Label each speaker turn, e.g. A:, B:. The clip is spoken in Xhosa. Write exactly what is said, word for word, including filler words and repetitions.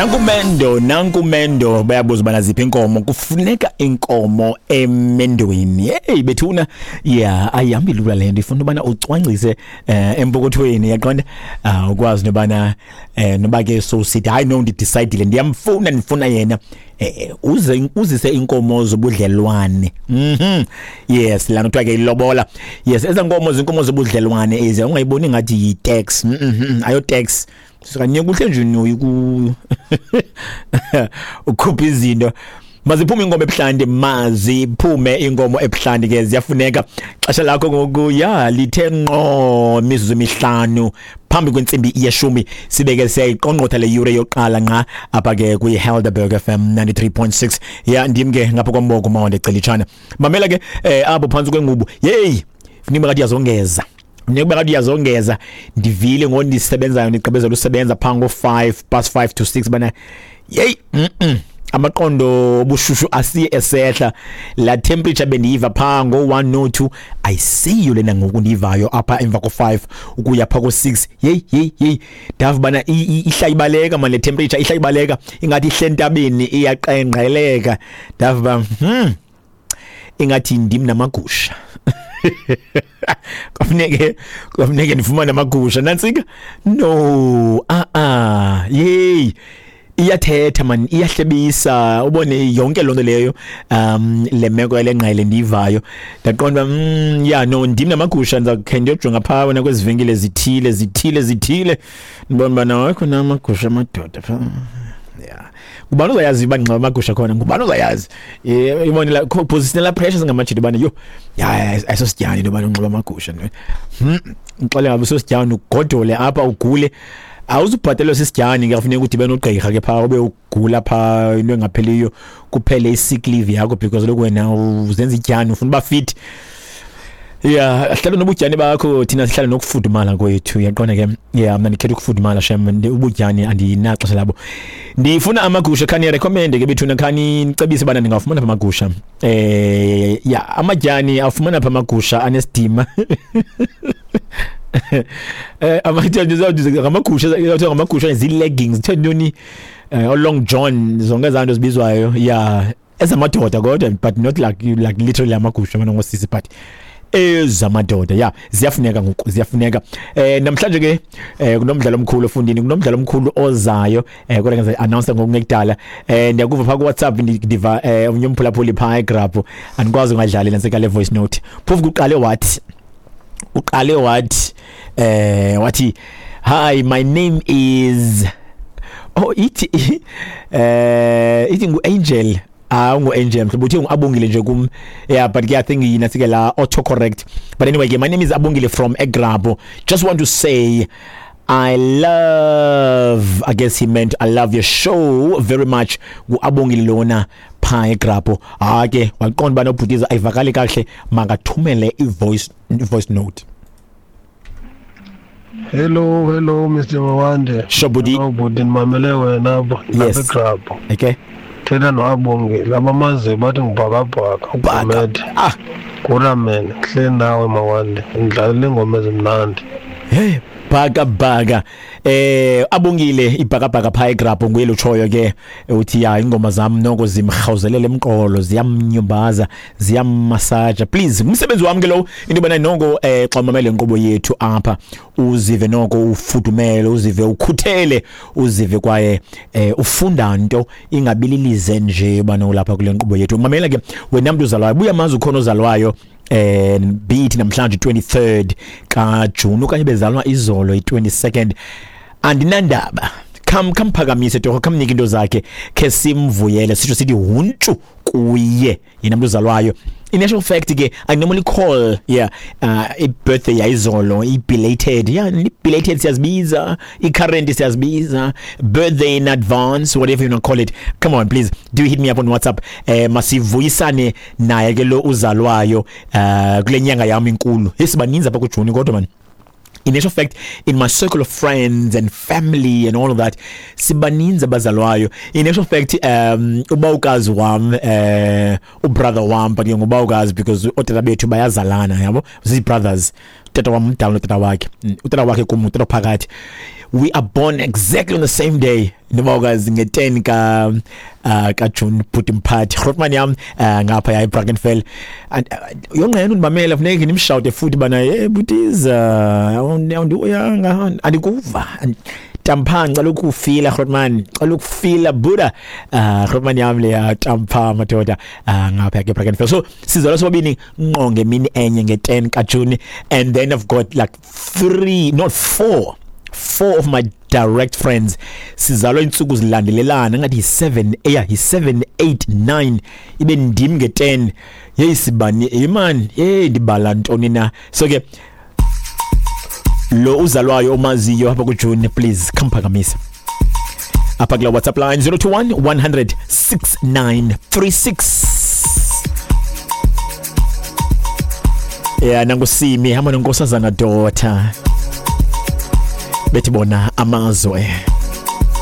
A: Nankumendo, nankumendo, bayabuza bana ziphi inkomo. Kufuneka inkomo emendweni. Hey bethuna, yeah, ayihambi lula le nto, ifuna ubana ucwangcise eh, empokothweni, yaqonda, uh, ukwazi nobana eh, noba ke so sithi hayi no, ndidecidile, ndiyamfuna, ndifuna yena, eh, uze uzise inkomo zobudlelwane. Mhm yes, lana kuthiwa ke ilobola. Yes, eza nkomo zinkomo zobudlelwane ezi, ungayiboni ngathi yi-tax. Mhm ayo tax, sikanye kuhle nje noyi ku ukhupha izinto. Maziphume inkomo ebuhlanti, maziphume inkomo ebuhlanti ke, ziyafuneka. Xesha lakho ngoku ya lithe ngqo mizuzu emihlanu phambi kwentsimbi yeshumi, sibeke siyayiqongqotha le yure yokuqala nqa apha ke kwi-Helderberg F M ninety-three point six. Ya, ndim ke ngapha komboko mawande celitshana. Mamela ke, eh, apho phantsi kwengubo, yeyi, funeka kade uyazongeza, funeka kade uyazongeza. Ndivile ngo ndisebenzayo, ndigqibezela usebenza phaa ngo-five past five to six bana yeyi, mm -mm. amaqondo obushushu asiye esehla. La temperature bendiyiva phaa ngo-one no two ayisiyo lena ngoku ndiyivayo apha emva ko-five ukuya phaa ko-six. Yeyi yeyi yeyi, ndava bana ihla ibaleka man, le temperature ihla ibaleka ingathi ihle entabeni, iyaqengqeleka. Ndava uba hmm ingathi ndim namagusha, kwafuneke kwafuneke ndifumane amagusha. Nantsika, no, ah ah, yeyi, iyathetha man, iyahlebisa, ubone yonke loo nto leyo. um le meko yale ngqele ndiyivayo, ndaqonda uba mm, ya no, ndim namagusha. Ndizawukhe ndiyojonga phaa wena kwezi venkile zithile zithile zithile, ndibona uba nawo khona amagusha amadoda phaa. Yeah, ngubani uzayazi uba ndinxiba amagusha khona? Ngubani uzayazi? Eh, ibone la position la pressure singamajita ubana yho, ya, ayisosityani into yobana unxiba amagusha. hmm ngixele ngabe sosityani, ugodole apha, ugule, awuzubhatelwa sisityani ke. Kufuneka udibene nogqirha ke phaa, ube ugula phaa into engapheliyo, kuphele i-sick leave yakho because lokhu wena uzenza ityani, ufuna uba fit. Ya, hlala nobutyani bakho, thina sihlala nokufudumala kwethu, uyaqonda ke. Ya, mna ndikhetha ukufudumala shem, ubutyani andinaxesha labo. Ndifuna amagusha, khani recommend ke bethuna, khani nicebise bana ndingawafumana pha amagusha. Eh ya, amatyani afumana pha amagusha anesidima. Eh amatyani ngamagusha, kuthiwa ngamagusha zii-leggings, kuthiwa ntoni, eh long john, zonke ezaa nto zibizwayo. Ya, ezamadoda kodwa, but not like like literally amagusha mana ngosisi, but ezamadoda. Ya, ziyafuneka ngoku, ziyafuneka. eh namhlanje ke eh kunomdlalo omkhulu ofundini, kunomdlalo omkhulu ozayo, eh kodwa ngiza announce ngokungekudala. eh ndiyakuva pha ku WhatsApp, ndiva eh omnye umphulaphuli pha eGrabho, andikwazi ungadlali lenseka le voice note. Phofu kuqale wathi uqale wathi eh wathi "Hi, my name is", oh, ithi eh ithi ngu Angel. Ah, ungu Angel mhlawumbe, uthe ngu-Abongile nje kum. Yeah, but ke I think yina sike la auto correct. But anyway ke, "My name is Abongile from eGrabho. Just want to say I love", I guess he meant "I love your show very much." Ngu-Abongile lona phaa eGrabho. Ah ke waqonda uba nobhutiza ayivakali kakuhle, makathumele i-voice voice note.
B: Hello, hello, Mister Mawande.
A: Sho bhuti.
B: Hello bhuti, ndimamele wena apha
A: Yes.
B: lapha eGrabho.
A: Okay.
B: Thetha noAbongile, abamaziyo bathi ngubhakabhaka ugumede.
A: Ah.
B: Kuramen, hle nawe Mawande, ndidlalele iingoma ezimnandi.
A: Hey, bhaka bhaka. Eh abongile ibhakabhaka pha eGrabho, nguye lutshoyo ke, uthi ya, ingoma zam noko zimrhawuzelela emqolo, ziyamnyumbaza, ziyammasaja. Please, umsebenzi wami ke lo, into bana noko eh xa umamele inkqubo yethu apha uzive noko ufudumele, uzive ukhuthele, uzive kwaye eh ufunda nto, ingabililize nje bana ulapha kule nkqubo yethu. Mamela ke wena mntu uzalwayo, buya mazi ukhona ozalwayo, eh be it namhlanje twenty-third ka June okanye bezalwa izolo i-twenty-second, andinandaba. Kham khamphakamise torho, khamnike into zakhe, khe simvuyele, sitsho sithi huntshu kuye yena mntu uzalwayo. In actual fact ke, I normally call, yeah, uh, i-birthday yayizolo i-belated. Yeah, i-belated siyazibiza, i-current siyazibiza, birthday in advance, whatever you wanna call it. Come on, please do hit me up on WhatsApp. eh masivuyisane naye ke lo uzalwayo uh kule nyanga yami inkulu. Esibaninzi apha kuJuni kodwa man, in actual fact, in my circle of friends and family and all of that, sibaninzi abazalwayo. In actual fact, um ubawukazi wam, eh ubrother wam, but ke ngubawukazi because ootata bethu bayazalana, yabo, zii-brothers. Utata wam mdala notata wakhe, utata wakhe kum utata phakathi. We are born exactly on the same day. Noba ukazi nge-ten ka uh, kaJune bhuti mphathi Grootman yam uh, ngapha ya eBrackenfell. uh, yonqena undimamela, funeke ndimshawute futhi bana, hey butiza, awundiyanga, andikuva. Tampha, ngicela ukufila Grootman, ngicela ukufila buda. uh, Grootman yam leya, tampha madoda, uh, ngapha ke Brackenfell. So sizalwa sobabini ngqo ngemini enye nge-ten kaJune, and then I've got like three, not four, four of my direct friends sizalwa insuku zilandelelana, ngathi yi-seven, yeah, yi-seven, eight, nine, ibe ndim nge-ten. Yeyi sibani imani, hey, ndibala ntoni na? So ke lo uzalwayo omaziyo apha kuJune, please khamphakamisa apha kula WhatsApp line zero two one one hundred six nine three six. Yeah, nangusimi hamba nonkosazana daughter, bethi bona amazwe.